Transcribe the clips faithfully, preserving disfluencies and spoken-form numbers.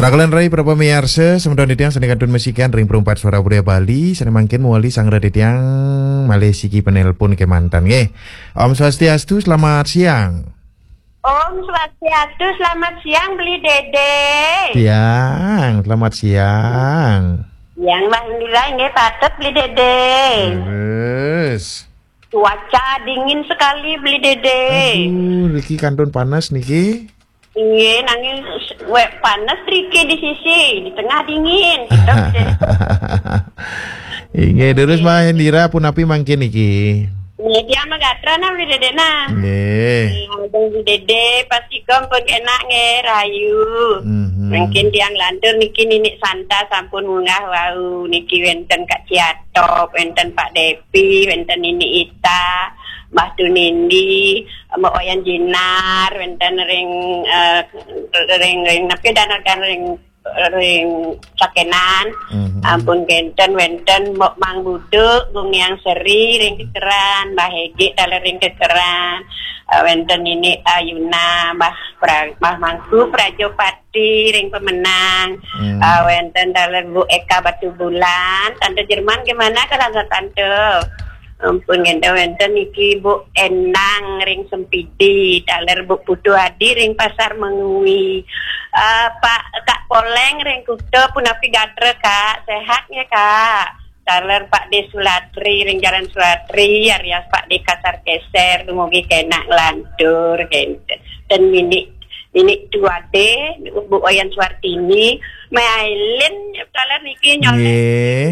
Rakelan rai para pamiarsa, semeton titiang sane kantun masikian ring Perumpat Suara Budaya Bali, sane mangkin mawali sanggra titiang malih siki penelpon kemanten nggih. Om Swastiastu, selamat siang. Om Swastiastu, selamat siang, Beli Dede. Siang, selamat siang. Siang, Mbah Indira, nggih, patut, Beli Dede. Leres. Cuaca dingin sekali, Beli Dede. Aduh, niki kantun panas niki. Nggih, nanging we panas riki di sisi, di tengah dingin, gitu, Beli Dede. Inggih, terus Mbah Indira punapi mangkin niki? Nggih, tiang magatra nah, Beli Dede nah. Nggih. Nah, Beli Dede, pasti pun enak nggih, rahayu. Mhm. Mangkin tiang lantur niki Ninik Santa sampun munggah wau, niki wenten Kak Ciatop, wenten Pak Depi, wenten Nini Ita, Mbah Tunindi, Mbok Wayan Jinar, wenten ring, eh, ring, ring, napi danar kan ring, ring Sakenan. Mhm. Ampun kenten wenten Mbok Mang Buduk, Gung Yang Seri, ring Kekeran, Mbah Hegi, taler ring Kekeran, eh, wenten Nini Ayuna, Mbah Pra-, Mbah Mangku, Prajopati, ring Pemenang, Hmm. eh, wenten taler Bu Eka Batubulan, Tante Jerman gimana keadaan Tante? Ampun, ngenten wenten niki Bu Endang ring Sempidi, taler Bu Putu Adi ring Pasar Mengwi. Eh, Pak, Kak Poleng ring Kuta, punapi gatra, Kak? Sehat nggih, Kak? Taler Pak De Sulatri ring Jalan Sulatri, Arias Pak De Kasar Keser, dumugi kenak nglantur, kenten. Dan Nini, Nini Tuade, Bu Wayan Suartini, Mailin, taler niki nyolek. Nggih.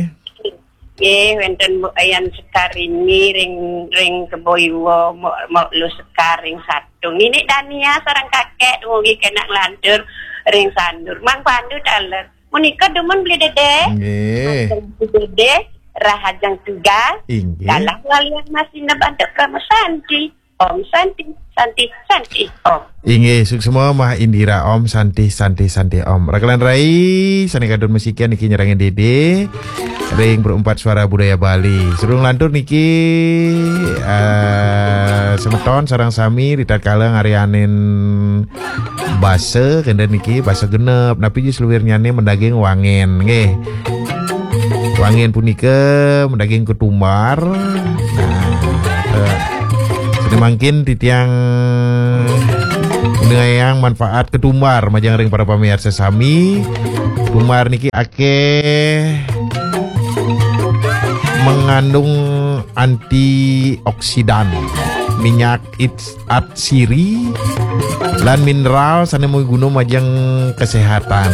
Nggih, wenten Bu Ayan Sekarini ring, ring Kebo Iwa, Mbok, Mbok Lu Sekar ring Satung. Nini Dania sareng kakek dumugi kenak nglantur ring Sandur. Mang Pandu taler. Menika dumun Beli Dede. Nggih. Beli Dede, rahajeng tugas. Inggih. Galah walian masih nebantuk Krama Santi. Om Santi, Santi, Santi, Om. Inggih, suksma Mbah Indira, Om Santi, Santi, Santi, Om. Rakelan rai, sane kantun masikian niki nyarengin Dede ring Perumpat Suara Budaya Bali. Sadurung lantur niki, eh, semeton sareng sami ritatkala ngaryanin basa, kenten niki basa genep. Napi ji saluirnyane madaging wangen, nggih. Wangen punika madaging ketumbar. Nah, eh, sane mangkin titiang nguningayang manfaat ketumbar majeng ring para pamiarsa sami. Ketumbar niki akeh mengandung antioksidan, minyak its-, atsiri, lan mineral sane maguna majeng kesehatan.